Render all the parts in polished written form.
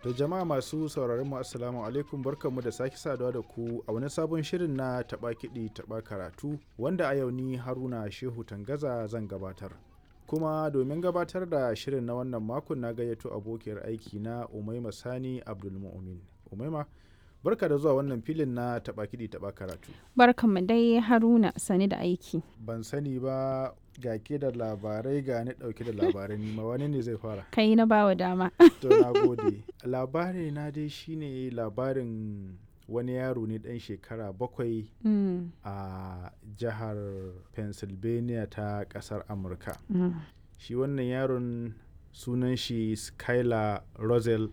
To jama'a masu sauraron mu, assalamu alaikum, barkanmu da sake saduwa da ku a wani sabon shirin na taɓa kiɗi taɓa karatu, wanda a yau ni Haruna Shehu Tangaza zan gabatar. Kuma domin gabatar da shirin na wannan makon na gayyato abokiyar aiki na Umaima Sani Abdulmu'min. Umaima, barka da zuwa wannan filin na taɓa kiɗi taɓa karatu. Barkanmu dai Haruna, sani da aiki. Ban sani ba, ga ke da labarai, ga ni ɗauke da labarai, nima wani ne zai fara? Kai na bawa dama. To, na gode. Labari na dai shine labarin wani yaro ne ɗan shekara 7 a jihar Pennsylvania ta ƙasar Amurka. Shi wannan yaron sunan shi Skylar Rosel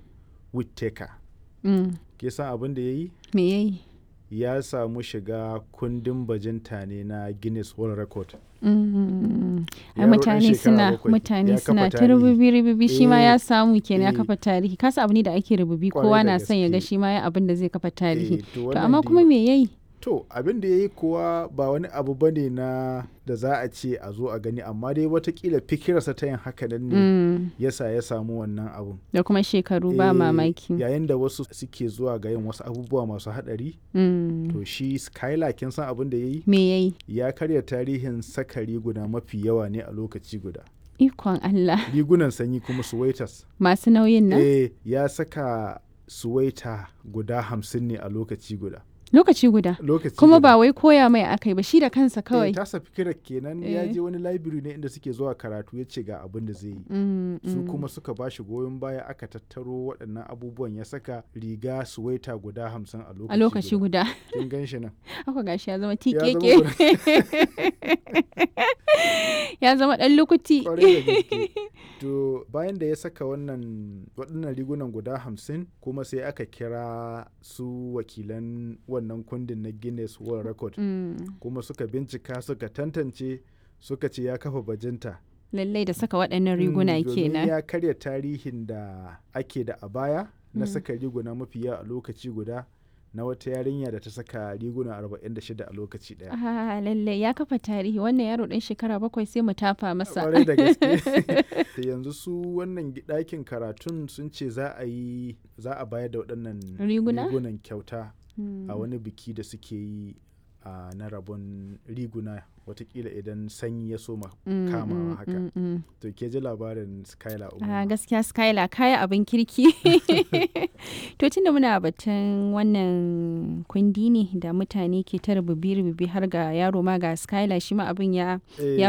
Whittaker. Ke san abin da ya yi? Me yayi? Ya samu shiga kundin bajinta ne na Guinness World Record. Ai Yaro ɗan mutane shekara suna 7 mutane ya suna kafa ta tarihi. rububi rububi, shi ma ya samu kenan ya eh. kafa tarihi. Kasa abu ne da ake rububi, Kwarai kowa da na son ya ga gaske. shi ma ya abin da zai kafa tarihi. Eh, to To wannan amma dai- kuma me yayi? To abin da ya yi kuwa ba wani abu ba ne na da za a ce a zo a gani, amma dai watakila fikirarsa ta yin haka nan ne yasa ya samu wannan abun. Da kuma shekaru ba Eh, mamaki. Yayin da wasu suke zuwa ga yin wasu abubuwa masu haɗari, to shi Skylar, kin san abin da ya yi? Me yayi? Ya karya tarihin saka riguna mafi yawa ne a lokaci guda. Ikon Allah. Rigunan sanyi kuma suwaitas. Masu nauyin nan? Eh, ya saka suwaita guda 50 ne a lokaci guda. Lokaci guda. Lokaci Kuma guda. ba wai koya mai akai ba, shi da kansa Eh, kawai. tasa fikirar kenan, ya Eh. je wani library ne inda suke zuwa karatu, ya ce ga abin da zai yi. Su kuma suka ba shi goyon baya, aka tattaro waɗannan abubuwan, ya saka riga suwaita guda 50 a lokaci A lokaci guda. Kin gan shi nan. Haka gashi ya zama Ya zama tikeke. Ya zama ɗan lukuti. Kwarai da gaske. To bayan da ya saka wannan waɗannan rigunan guda 50 kuma, sai aka kira su wakilan wannan kundin na Guinness World Record, kuma suka bincika, suka tantance, suka ce ya kafa bajinta. Lallai da saka waɗannan riguna Domin kenan. ya karya tarihin da ake da a baya na saka riguna mafi yawa a lokaci guda na wata yarinya da ta saka riguna 46 a lokaci daya. Ah, lallai ya kafa tarihi wannan yaro ɗan shekara 7, sai mu tafa masa. Kwarai da gaske. Da yanzu su wannan ɗakin karatun sun ce za a yi za a bayar da waɗannan Riguna? rigunan kyauta a wani biki da suke yi a na rabon riguna, watakila idan sanyi ya soma kamawa haka. To, ke ji labarin Skylar Ah, Umar. gaskiya Skylar kaya abin kirki. To tunda muna batun wannan kundi ne da mutane ke ta rububi-rububi, har ga yaro ma, ga Skylar shi ma abin ya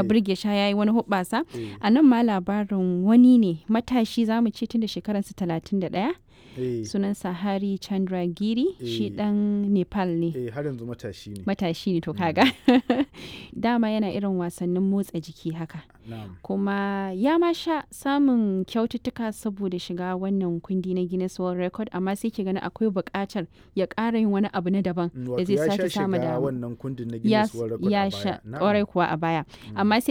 burge shi, ya yi wani hoɓɓasa. A nan ma labarin wani ne matashi zamu ce, tunda shekaransa 31, sunansa Hari Chandra Giri, shi Eh. ɗan Nepal ne. Eh, har yanzu matashi ne. Matashi ne, to kaga. Dama yana irin wasannin motsa jiki haka. Na'am. Kuma ya ma sha samun kyaututtuka saboda shiga wannan kundi na Guinness World Record, amma sai ke gani akwai buƙatar ya ƙara yin wani abu na daban da Wato zai ya sha sake samu shiga dama. wannan kundin na Ya Guinness World Record ya a sha baya. Na'am. ƙwarai kuwa a baya. Amma sai